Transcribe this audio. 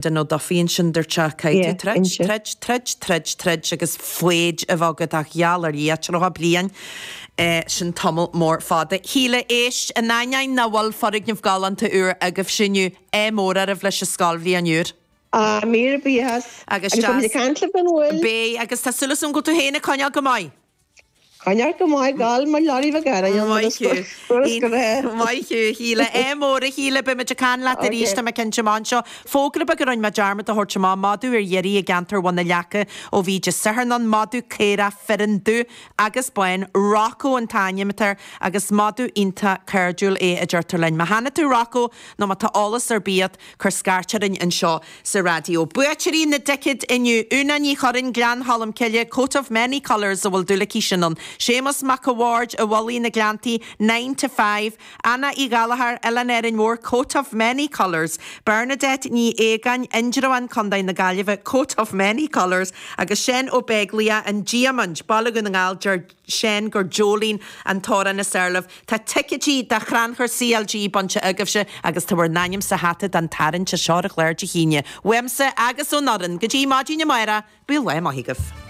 Den Ó Dufaigh ansin dúirt sé, caithfidh tú troid, troid, troid, troid, troid agus foighid a bheith agat ach gheall ar Dhia, 30 bliain, sin tamall mór fada. Shíle, éist, in ainneoin nach bhfuil foirgneamh galánta úr agaibhse inniu, ádh mór oraibh leis an scoilbhliain úr. Ah, míle buíochas. Agus deas. Agus beimid ag caint libh gan mhoill. Beidh, agus tá súil agam go bhfuil tú féin ag coinneáil go maith. Coinneáil go maith gal mo leoraí bheag air Maith thú. Maith thú, a Shíle. Ádh mór, a Shíle. Beidh muid ag caint leat arís, tá mé cinnte amach anseo. Fógra beag a rinne mé dearmad a thabhairt amach, madadh ar iarraidh i gceantar Bhun na Leaca ó bhí Dé Sathairn ann. Madadh caorach fireann dubh agus bán. Rocco an t-ainm atá air agus madadh iontach cairdiúil é a deirtear linn. Má chonaic tú Rocco nó má tá eolas ar bith agat, cuir scairt orainn anseo sa raidió. Buaiteoirí na dticéad inniu, Úna Ní Churraoin, Gleann Cholm Cille, Coat of Many Colours a bhfuil dúil aici sin ann, Séamus Mac a' Bhaird, i Mhullaigh na Gleanntaí, Nine to Five, Anna Uí Ghallchóir, Oileán Árainn Mhór, Coat of Many Colours, Bernadette Ní Aogáin, Indreabhán, Contae na Gaillimhe, Coat of Many Colours, agus Seán Ó Beaglaoich, An Diamaint, Baile Dhún na nGall, deir Seán gur Jolene an t-amhrán is fearr libh. Tá ticéidí do Chrannchur CLG bainte agaibhse agus tá bhur n-ainm sa hata don tarraingt seo ar an chlár Dé hAoine. Uaimse agus ón fhoireann, go dtí maidin amárach, bíodh lá maith agaibh.